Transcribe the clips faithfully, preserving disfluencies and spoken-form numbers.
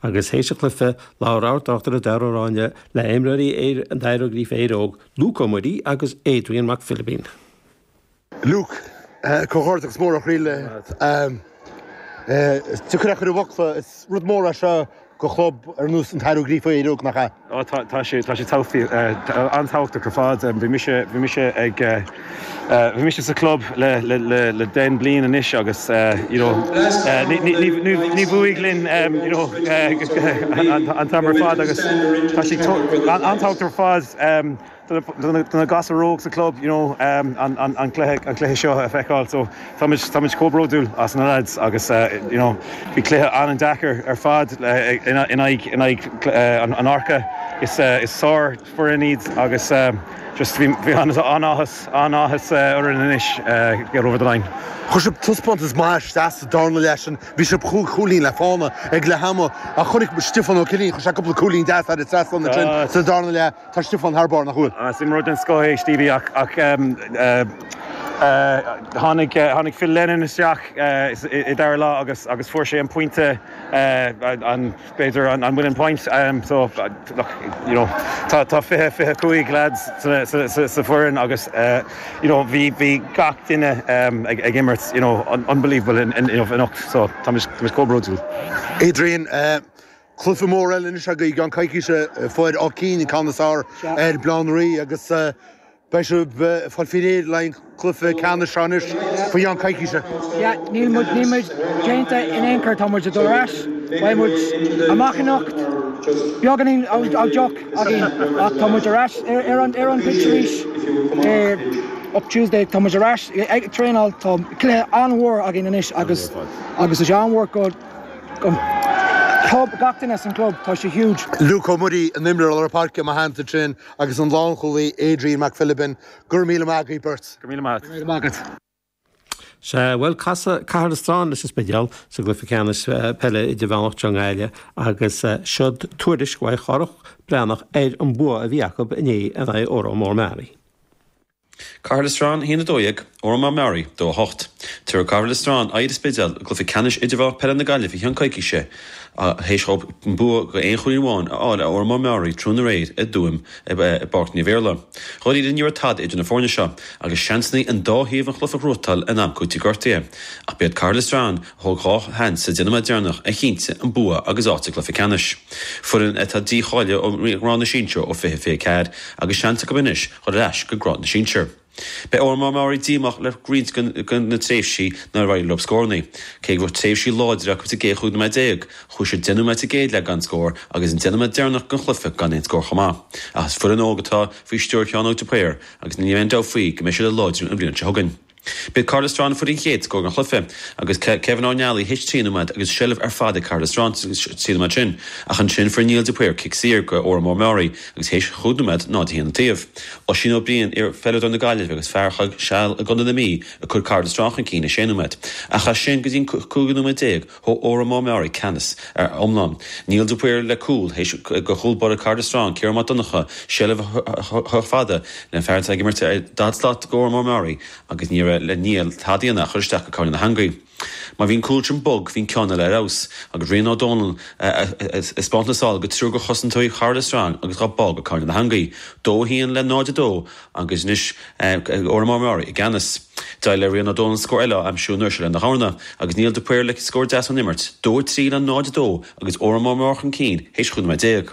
Agus théis an chluiche, labhair ár dtráchtaire Dara Ó Ráinne le imreoirí an Éire Ó Gríofa Éire Óg, Luke Ó Muirí agus Adrian Mac Philibín. Luke, comhghairdeachas mór a chroí. Deacair a chur i bhfocla, is rud mór é seo do chlub ar nós an tAire Ó Gríofa Éire Óg, nach ea? Ó tá tá sé tá sé an-tábhachtach ar fad. Bhí mise bhí mise ag bhí mise sa club le le le le deich mbliana anois agus you know ní ní ní ní bhuaigh linn you know an t-am ar fad agus tá sé an-tábhachtach ar fad do na gasúir óg sa club you know an an an cluiche an cluiche seo a feiceáil so táimid táimid chomh bródúil as na lads agus you know bhí cluiche an-deacair ar fad in aghaidh in aghaidh an Áirce is is sár foireann iad agus just bhí bhí an-áthas an-áthas orainn anois get over the line. Chuir sibh taispeántas maith isteach sa darna leath sin, bhí sibh chúig chúilín le fána ag leath ama ach chonaic Stiofán Ó Cillín, chuir sé cúpla cúilín deas thar an trasnán ansin sa darna leath. Tá Stiofán thar barr, nach bhfuil? Is imreoir den scoth é Stevie ach ach tháinig tháinig Phil Lennon isteach i dara leath agus agus fuair sé an pointe an b'fhéidir an an winning point so look you know tá tá fiche fiche cúig lads sa sa sa sa foireann agus you know bhí bhí gach duine ag ag imirt you know unbelievable in in you know anocht so táimid táimid chomh bródúil. Adrian, cluiche mór eile anois agaibh i gceann coicíse fuair Áth Cinn an ceann is fearr ar Bhaile Átha an Rí agus beidh sibh ag fáil faoi réir le haghaidh an cluiche ceannais seo anois faoi cheann coicíse. Yeah, níl muid níl muid déanta in aon chor tá muid ag dul ar ais, beidh muid amach anocht beagáinín ó deoch againn ach tá muid ar ais ar ar an ar an pitch arís up Tuesday tá muid ar ais ag traenáil tá cluiche an-mhór againn anois agus agus is an-mhór go go club gach duine san club tá sé huge. Luke Ó Muirí an imreoir lár páirce mar theannta sin agus an lánchúlaí Adrian Mac Philibin go raibh míle maith agaibh beirt. Go míle maith. Míle maith agat. Sea, bhuel casfaidh Caherlistrane leis an Spidéal sa gcluiche ceannais peile idirmheánach i nGaillimh agus seod tuairisc uaidh Chárthach Breathnach ar an bua a bhí acu inné in aghaidh Óró Mór Meáraí. Caherlistrane a haon a dó dhéag, Óró Mór Meáraí, dó a hocht. Tabharfaidh Caherlistrane aghaidh ar an Spidéal i gcluiche ceannais idirmheánach peile na Gaillimhe i gceann coicíse théis dóibh an bua go aon chúilín amháin a fháil ar Óró Mór Meáraí tráthnóna aréir i dTuaim i bPáirc Naomh Iarlaith. Dháiríre ní raibh tada idir na foirne seo agus seansanna an dá thaobh an chluiche a ghnóthachtáil in am cúitimh gortaithe. Ach b'iad Caherlistrane a thóg dhá sheans sa deich nóiméad deireanach a chinntigh an bua agus áit sa gcluiche ceannais. Foireann atá dícháilithe ó ghrád na sinsear ó fiche fiche ceathair agus seans acu anois dhul ar ais go grád na sinsear. Beidh Óró Mór Meáraí díomách le roinnt de na tréimhsí nár éirigh leo scóranna. Cé go raibh tréimhsí láidre acu sa gcéad chúig nóiméad déag, chuaigh siad deich nóiméad sa gcéad leath gan scór agus an deich nóiméad deireanach den chluiche gan aon scór chomh maith. Ach is foireann óg atá faoi stiúir Sheán Óg de Paor agus níl aon dabht faoi go mbeidh siad ag láidriú an bhliain seo chugainn. B'iad Caherlistrane a fuair an chéad scór den chluiche agus Kevin Ó Nealaí théis trí nóiméad agus seilbh ar fad ag Caherlistrane sa trí nóiméad sin ach ansin fuair Niall de Paor cic saor go Óró Mór Meáraí agus théis chúig nóiméad náid a haon an taobh. Oisín Ó Briain iar-pheileadóir na Gaillimhe agus fear a chaith seal i gContae na Mí ag cur Caherlistrane chun cinn i sé nóiméad. Ach as sin go dtí an cúigiú nóiméad déag thóg Óró Mór Meáraí ceannas ar iomlán. Niall de Paor le cúl théis do chúl báire Caherlistrane Ciarán Mac Donncha seilbh a chur fada le fear atá ag imirt ar daichead slat go Óró Mór Meáraí agus ní raibh le Niall tada a dhéanamh ach cur isteach go cúinne na heangaí. Má bhí an cúl sin bog bhí an ceann eile ar fheabhas agus Rian Ó Dónaill ag spáint na sál go triúr de chosantóirí Chaherlistrane agus dhá bá go cúinne na heangaí. Dó a haon le náid a dó agus anois Óró Mór Meáraí i gceannas. D'éirigh le Rian Ó Dónaill scór eile a aimsiú an uair seo lena dhorna agus Niall de Paor le scór deas ón imirt, dó a trí le náid a dó agus Óró Mór Meáraí chun cinn théis chúig nóiméad déag.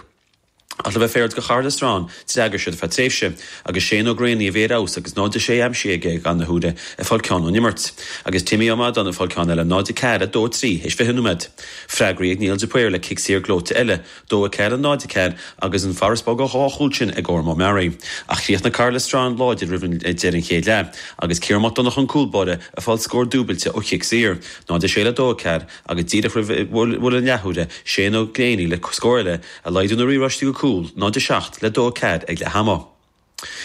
Ach le bheith féaráilte do Chaherlistrane, d'fhreagair siad ar feadh tréimhse, agus Shane Ó Gréanaí a bhí ar fheabhas agus náid a sé aimsithe aige ag na huaire ag fáil ceann ón imirt, agus Timmy Ó Madáin ag fáil ceann eile náid a ceathair a dó a trí théis fiche nóiméad. Freagraí ag Niall de Paor le cic saor gleoite eile, dó a ceathair a náid a ceathair agus an farasbarr de dhá chúl sin ag Óró Mór Meáraí. Ach chríochnaigh Caherlistrane láidir roimh an deireadh an chéad leath, agus Ciarán Mac Donncha an cúl báire ag fáil scór dúbailte ó chic saor, náid a sé le dó a ceathair agus díreach roimh bhuille an leathuaire, Shane Ó Gréanaí le scór eile, ag laghdú na riaráistí go cúl, náid a seacht le dó a ceathair ag leath ama.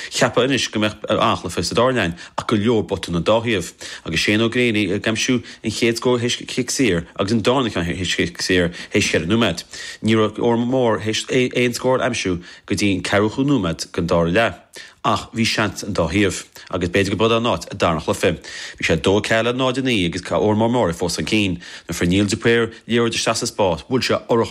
Cheapfá anois go mbeadh an-chluiche sa dara leath ach go leor botún ón dá thaobh, agus Shane Ó Gréine ag aimsiú an chéad scór théis cic saor agus an darna ceann théis cic saor théis cheithre nóiméad. Ní raibh Órán Mór théis aon scór a aimsiú go dtí an ceathrú nóiméad den dara leath. Ach bhí seans an dá thaobh, agus b'fhéidir go b'in an áit a darna chluiche. Bhí sé dó ceathair le náid a naoi agus Órán Mór fós chun cinn. Nuair a fuair Neil de Paor liathróid isteach sa spás, bhuail sé urchar